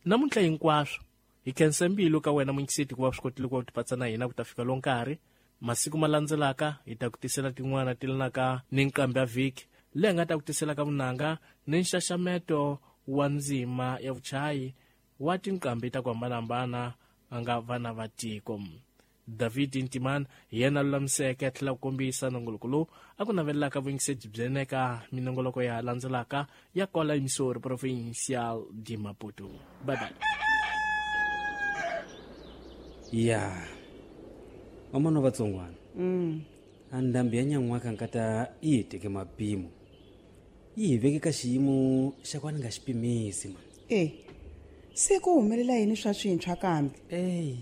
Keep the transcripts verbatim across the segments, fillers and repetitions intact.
Namuntlha hinkwaswo hi khensa mbilu ka wena munyikiseti ku va swi kotile ku va tipatsa na hina ku ta fika lo nkarhi. Masiku ma landzelaka hi ta ku tisela tin'wana ti lanaka ni nqambi ya vhiki leyi nga ta ku tisela ka vunanga ni nxaxameto wa ndzima ya vuchayi wa tinqambi ta ku hambanahambana a nga vana va tiko. David Ntimana hi yena lulamiseke a tlhela ku kombisa nongoloko lowu a ku navelelaka vuyingiseti byi eka minongoloko ya landzelaka ya kwala Emissora Provincial de Maputo. Bye bye. Ya mamana vatsongwana mm. a ndhambi ya nyan'waka nkata yi hi teke mapimo yi hi veke ka xiyimo xa ku a ni nga xi pimisi man. E se ku humelela yini swa swintshwa kambe? Eyi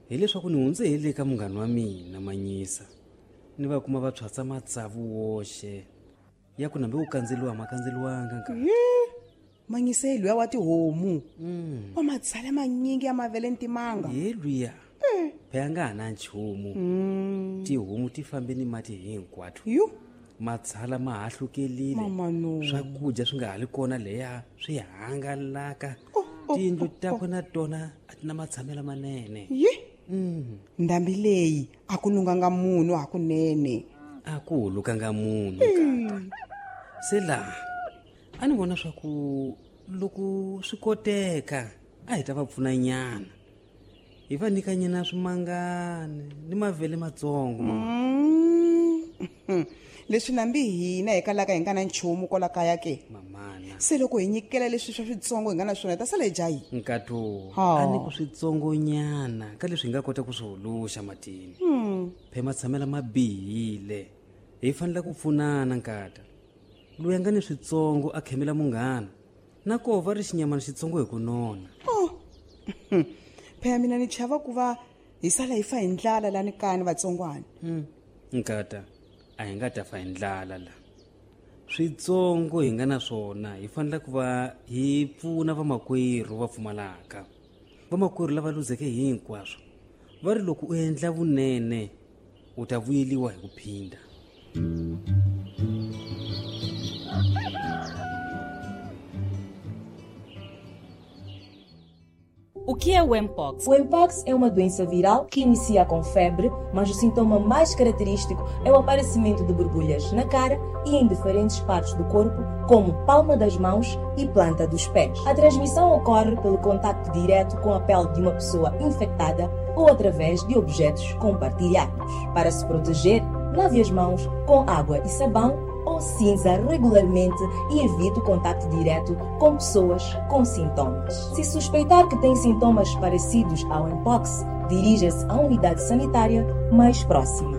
hileswaku ni hundze hi le ka munghana wa mina Manyisa ni va kuma va tshwatsa matsavu woxe ya ku nambe ku kandzeliwa ma kandzeliwanga nka. Manyisa hi luya wa tihomu mm. wa matsala manyingi ya mavele ntimanga hi luya phela nga ha na nchumu mm. tihomu ti fambe ni mati hinkwato yu matsala ma hahlukelile mama no swakudya swi nga ha li kona leya swi hangalaka oh, oh, tiyindlu oh, takwe oh. na tona a ti na matshamelo manene ye mm. ndhambi leyi a ku lunganga munhu hakunene a ku hulukanga munhu kata se laha a ni vona swa ku loko swi koteka a hi ta va pfuna nyana hi va nyikanyana swimangani ni mavele matsongo Mm. Leswi nambi hina hi kalaka hi nga na nchumu kwala kaya ke mamana se loko hi nyikela leswi swa switsongo hi nga na swona hi ta sala hi dya yini nkato Ha. a ni ku switsongonyana ka leswi hi nga kota ku swi huluxa matini Hmm. phe matshamela ma bihile hi fanele ku pfunana nkata loyi a nga ni switsongo a khemela munghana na koho va ri xinyamana xitsongo hi ku nona Oh. Phela mina ni chava ku va hi sala hi fa hi ndlala lani kaya ni vatsongwana Hmm. Nkata a hi nga ta fa hi ndlala la switsongo hi nga na swona hi fanele ku va hi pfuna vamakwerhu va pfumalaka vamakwerhu lava luzeke hinkwaswo va ri loko u endla vunene u ta vuyeliwa hi ku phinda. O que é o Mpox? O Mpox é uma doença viral que inicia com febre, mas o sintoma mais característico é o aparecimento de borbulhas na cara e em diferentes partes do corpo, como palma das mãos e planta dos pés. A transmissão ocorre pelo contacto direto com a pele de uma pessoa infectada ou através de objetos compartilhados. Para se proteger, lave as mãos com água e sabão ou cinza regularmente e evite o contacto direto com pessoas com sintomas. Se suspeitar que tem sintomas parecidos ao Mpox, dirija-se à unidade sanitária mais próxima.